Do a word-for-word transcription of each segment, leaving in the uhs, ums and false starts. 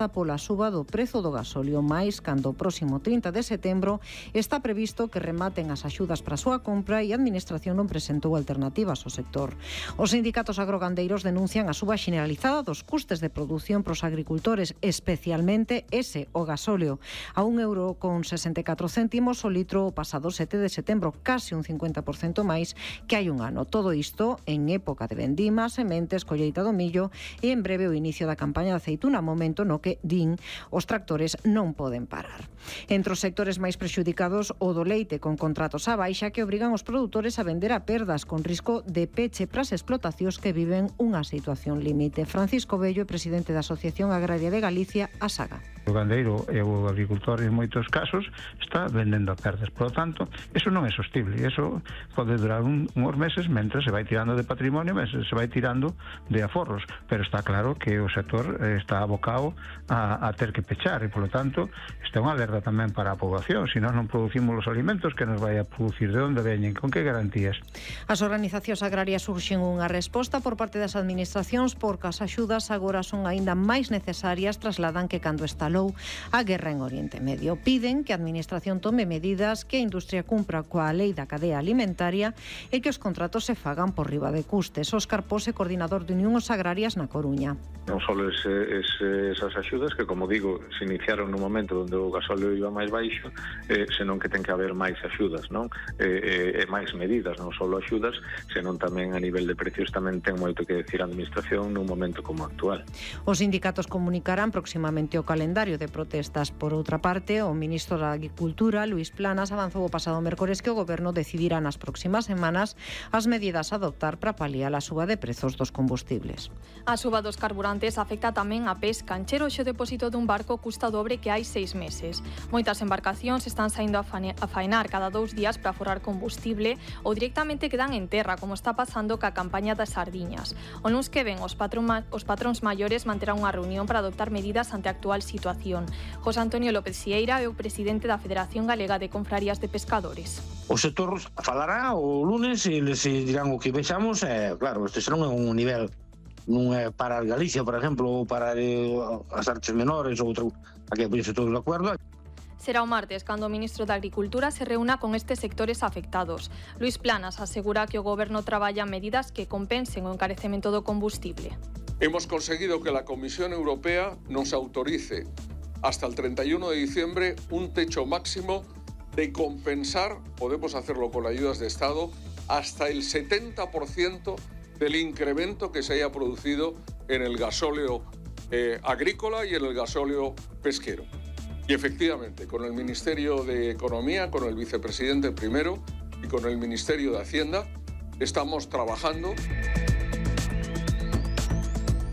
pola suba do prezo do gasóleo, máis cando o próximo trinta de setembro está previsto que rematen as axudas para a súa compra e a Administración non presentou alternativas ao sector. Os sindicatos agrogandeiros denuncian a suba xeneralizada dos custes de produción pros agricultores, especialmente ese, o gasóleo, a un euro con sesenta e catro céntimos o litro o pasado sete de setembro, case un cincuenta por cento máis que hai un ano. Todo isto en época de vendima, sementes, colleita do millo e en breve o inicio da campaña de aceituna, momento no que, din, os tractores non poden parar. Entre os sectores máis prexudicados, o do leite, con contratos á baixa que obrigan os produtores a vender a perdas, con risco de peche para as explotacións que viven unha situación límite. Francisco Bello é presidente da Asociación Agraria de Galicia, a SAGA. O gandeiro e o agricultor en moitos casos está vendendo a perdas, por lo tanto, eso non é sostible, eso pode durar un, uns meses mentre se vai tirando de patrimonio, mentre se vai tirando de aforros, pero está claro que o sector está abocado a, a ter que pechar e, por lo tanto, está unha alerta tamén para a poboación. Se nós non producimos os alimentos, que nos vai a producir, de onde veñen, con que garantías? As organizacións agrarias surxen unha resposta por parte das administracións porque as axudas agora son aínda máis necesarias, trasladan que cando estalou a guerra en Oriente Medio. Piden que a administración tome medidas, que a industria cumpra coa lei da cadea alimentaria e que os contratos se fagan por riba de custes. Óscar Pose, coordinador de Unións Agrarias na Coruña. Non só ese, ese, esas axudas que, como digo, se iniciaron no momento onde o gasóleo iba máis baixo, eh, senón que ten que haber máis axudas, non? E eh, eh, máis medidas, non só axudas, senón tamén a nivel de precios tamén ten moito que decir a administración nun momento como actual. Os sindicatos comunicarán próximamente o calendario de protestas. Por outra parte, o ministro da Agricultura, Luís Planas, avanzou o pasado mércores que o Goberno decidirá nas próximas semanas as medidas a adoptar para paliar a suba de prezos dos combustibles. A suba dos carburantes afecta tamén a pesca. Encher o depósito dun barco custa o dobre que hai seis meses. Moitas embarcacións están saindo a faenar cada dous días para aforrar combustible ou directamente quedan en terra, como está pasando ca campaña das sardiñas. O luns que ven, os, patrón, os patróns maiores manterán unha reunión para adoptar medidas ante a actual situación. José Antonio López Sieira é o presidente da Federación Galega de Confrarías de Pescadores. O sector falará o lunes e les dirán o que vexamos. Eh, claro, este non é un nivel, non é para Galicia, por exemplo, ou para eh, as artes menores ou outro, aquí pois todos de acordo. Será o martes cando o ministro da Agricultura se reúna con estes sectores afectados. Luís Planas asegura que o Goberno traballa medidas que compensen o encarecemento do combustible. Hemos conseguido que la Comisión Europea nos autorice hasta el treinta y uno de diciembre un techo máximo de compensar, podemos hacerlo con ayudas de Estado, hasta el setenta por ciento del incremento que se haya producido en el gasóleo eh, agrícola y en el gasóleo pesquero. Y efectivamente, con el Ministerio de Economía, con el vicepresidente primero y con el Ministerio de Hacienda, estamos trabajando.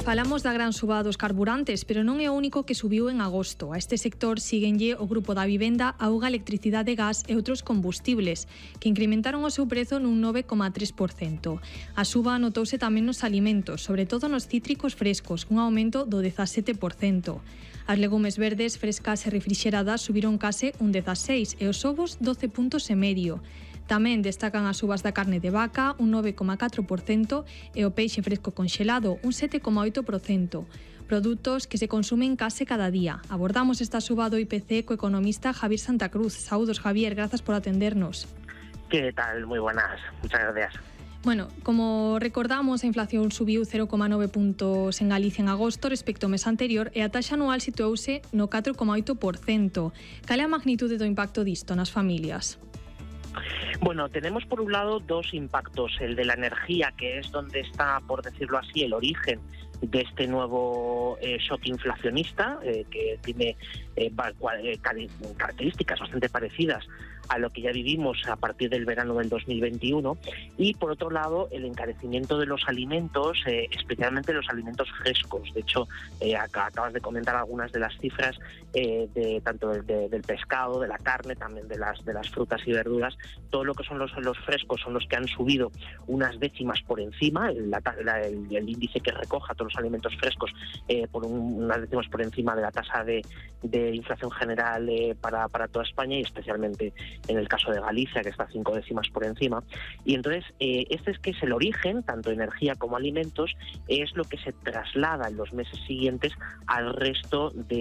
Falamos da gran suba dos carburantes, pero non é o único que subiu en agosto. A este sector síguenlle o Grupo da Vivenda, Auga, Electricidade, Gas e outros combustibles, que incrementaron o seu prezo nun nove coma tres por cento. A suba notouse tamén nos alimentos, sobre todo nos cítricos frescos, cun aumento do dezasete por cento. As legumes verdes, frescas e refrixeradas subiron case un dezaseis e os ovos doce puntos e medio. Tamén destacan as subas da carne de vaca, un nove coma catro por cento, e o peixe fresco conxelado, un sete coma oito por cento. Produtos que se consumen case cada día. Abordamos esta suba do I P C co economista Javier Santa Cruz. Saúdos, Javier, grazas por atendernos. ¿Qué tal? Muy buenas, muchas gracias. Bueno, como recordamos, a inflación subiu cero coma nove puntos en Galicia en agosto respecto ao mes anterior e a taxa anual situouse no catro coma oito por cento. Cal é a magnitude do impacto disto nas familias? Bueno, tenemos por un lado dos impactos, el de la energía, que es donde está, por decirlo así, el origen de este nuevo eh, shock inflacionista, eh, que tiene eh, características bastante parecidas a lo que ya vivimos a partir del verano del dos mil veintiuno, y por otro lado el encarecimiento de los alimentos, eh, especialmente los alimentos frescos. De hecho, eh, acabas de comentar algunas de las cifras eh, de tanto de, de, del pescado, de la carne, también de las de las frutas y verduras. Todo lo que son los, los frescos son los que han subido unas décimas por encima, el, la, el, el índice que recoja todos los alimentos frescos eh, por un, unas décimas por encima de la tasa de, de inflación general eh, para, para toda España, y especialmente en el caso de Galicia, que está cinco décimas por encima. Y entonces, eh, este es que es el origen, tanto energía como alimentos, es lo que se traslada en los meses siguientes al resto de